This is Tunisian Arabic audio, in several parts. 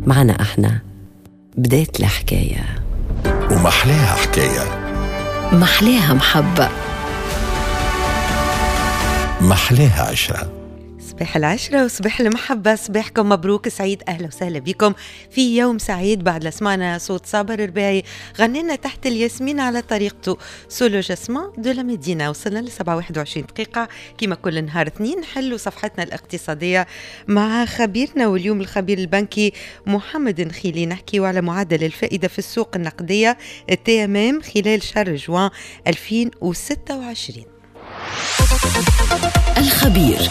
معنا احنا بدات الحكاية. ومحلاها حكاية، محلاها محبة، محلاها عشرة. صباح العشرة وصباح المحبة، صباحكم مبروك سعيد. أهلا وسهلا بكم في يوم سعيد بعد لسمعنا صوت صابر الرباعي غنينا تحت الياسمين على طريقته Sous le jasmin de la Médina. وصلنا ل 7:21 دقيقة كما كل نهار اثنين نحلوا صفحتنا الاقتصادية مع خبيرنا، واليوم الخبير البنكي محمد نخيلي. نحكيو على معدل الفائدة في السوق النقدية TMM خلال شهر جوان 2026. الخبير.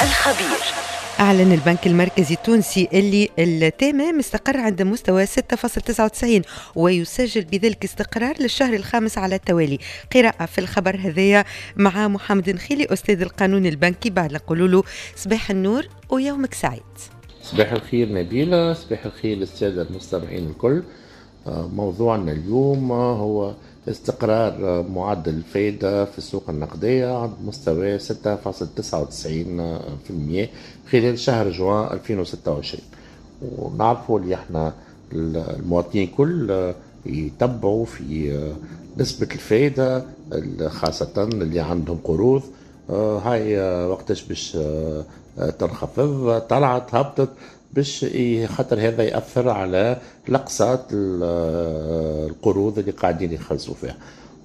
أعلن البنك المركزي التونسي اللي ال TMM استقر عند مستوى 6.99 ويسجل بذلك استقرار للشهر الخامس على التوالي. قراءة في الخبر هذايا مع محمد نخيلي أستاذ القانون البنكي. بعد نقول له صباح النور ويومك سعيد. صباح الخير نبيلة، صباح الخير للسادة المستمعين الكل. موضوعنا اليوم هو استقرار معدل الفائدة في السوق النقدية عند مستوى 6.99% خلال شهر جوان 2026. ونعرفوا اللي احنا المواطنين كل يتبعوا في نسبة الفائدة، خاصة اللي عندهم قروض. هاي وقتاش باش تنخفض، طلعت هبطت، باش خاطر هذا يأثر على الأقساط القروض اللي قاعدين يخلصوا فيها.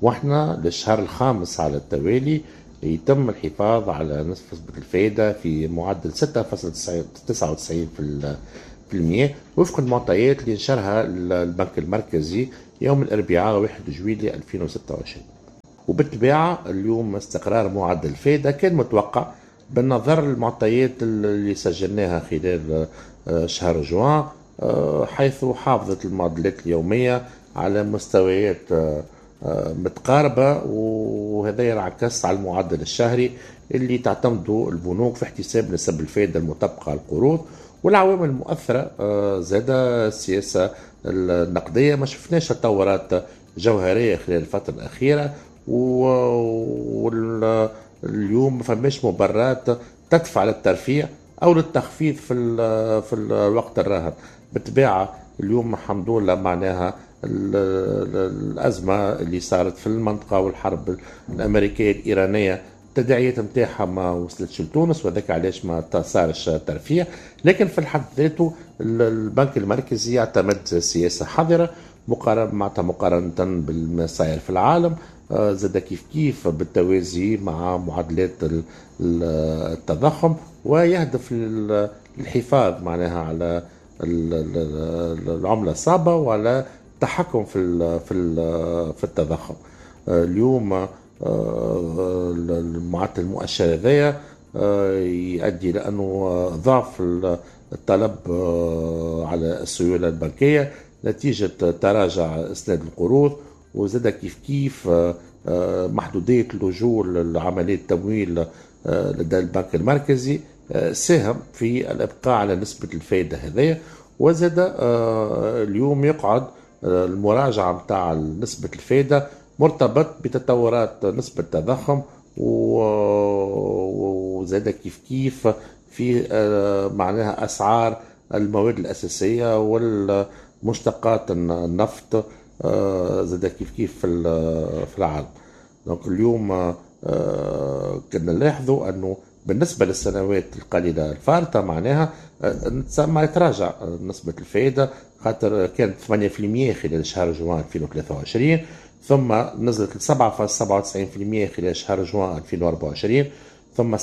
واحنا للشهر الخامس على التوالي يتم الحفاظ على نسبة الفائدة في معدل 6.99% وفق المعطيات اللي نشرها البنك المركزي يوم الأربعاء 1 جويلية 2026. وبالطبيعة اليوم استقرار معدل الفائدة كان متوقع بالنظر للمعطيات اللي سجلناها خلال شهر جوان، حيث حافظت المعدلات اليومية على مستويات متقاربة، وهذا ينعكس على المعدل الشهري اللي تعتمده البنوك في احتساب نسب الفائدة المطبقة على القروض والعوامل المؤثرة. زاد السياسة النقدية ما شفناش تطورات جوهرية خلال الفترة الأخيرة، واليوم ما فماش مبررات تدفع للترفيع او للتخفيض في الوقت الراهن. بالطبيعة اليوم الحمد لله معناها الازمة اللي صارت في المنطقة والحرب الامريكية الايرانية التداعيات نتاعها ما وصلتش لتونس، وذاك علاش ما صارش ترفيع. لكن في الحد ذاته البنك المركزي يعتمد سياسة حذره مقارنة بالما صاير في العالم، زاد كيف كيف بالتوازي مع معدلات التضخم، ويهدف للحفاظ معناها على العملة الصعبة وعلى التحكم في التضخم. اليوم المعدل المؤشر هذايا يؤدي لأنه ضعف الطلب على السيولة البنكية نتيجة تراجع اسناد القروض، وزاد كيف كيف محدودية اللجوء لعملية التمويل لدى البنك المركزي ساهم في الإبقاء على نسبة الفائدة هذيا. وزاد اليوم يقعد المراجعة متاع نسبة الفائدة مرتبط بتطورات نسبة التضخم، وزاد كيف كيف في معناها أسعار المواد الأساسية والمشتقات النفط زاد كيف كيف في العالم. donc اليوم كنا نلاحظوا انه بالنسبة للسنوات القليلة الفارطه معناها ما يتراجع نسبه الفائدة، خاطر كانت 8% خلال شهر جوان 2023، ثم نزلت ل 7.97% خلال شهر جوان 2024، ثم 7.5%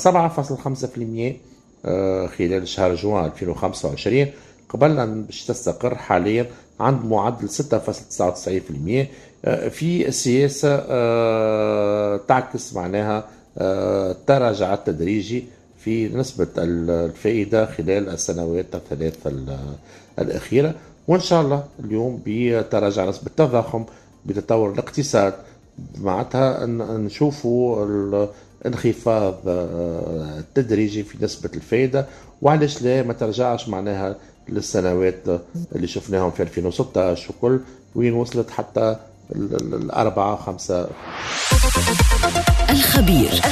خلال شهر جوان 2025، قبل أن باش تستقر حاليا عند معدل 6.99% في سياسة تعكس معناها التراجع التدريجي في نسبة الفائدة خلال السنوات الثلاث الأخيرة. وإن شاء الله اليوم بتراجع نسبة التضخم بتطور الاقتصاد معناتها نشوفوا الانخفاض التدريجي في نسبة الفائدة، وعلاش لا ما ترجعش معناها للسنوات اللي شفناهم في 2016 وكل وين وصلت حتى الأربعة خمسة. الخبير.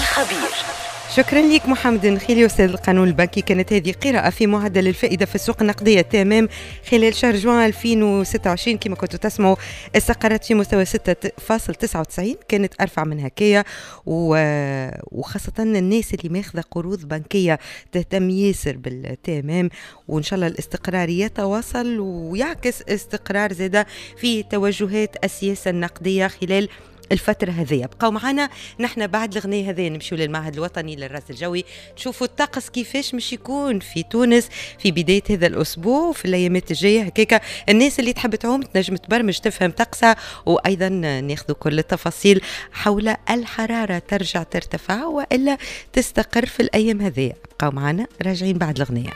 شكرا لك محمد النخيلي أستاذ القانون البنكي. كانت هذه قراءة في معدل الفائدة في السوق النقدية TMM خلال شهر جوان 2026. كما كنتوا تسمعوا استقرت في مستوى 6.99، كانت أرفع من هكايا، وخاصة الناس اللي ماخذة قروض بنكية تهتم ياسر بال TMM، وإن شاء الله الاستقرار يتواصل ويعكس استقرار زادة في توجهات السياسة النقدية خلال الفترة هذه. بقوا معنا نحن بعد الغنية هذه نمشيو للمعهد الوطني للرصد الجوي نشوفوا الطقس كيفاش مش يكون في تونس في بداية هذا الأسبوع وفي الأيامات الجاية. هكاكا الناس اللي تحب تعوم تنجم تبرمج تفهم طقسها، وأيضا ناخذ كل التفاصيل حول الحرارة ترجع ترتفع وإلا تستقر في الأيام هذه. بقوا معنا راجعين بعد الغنية.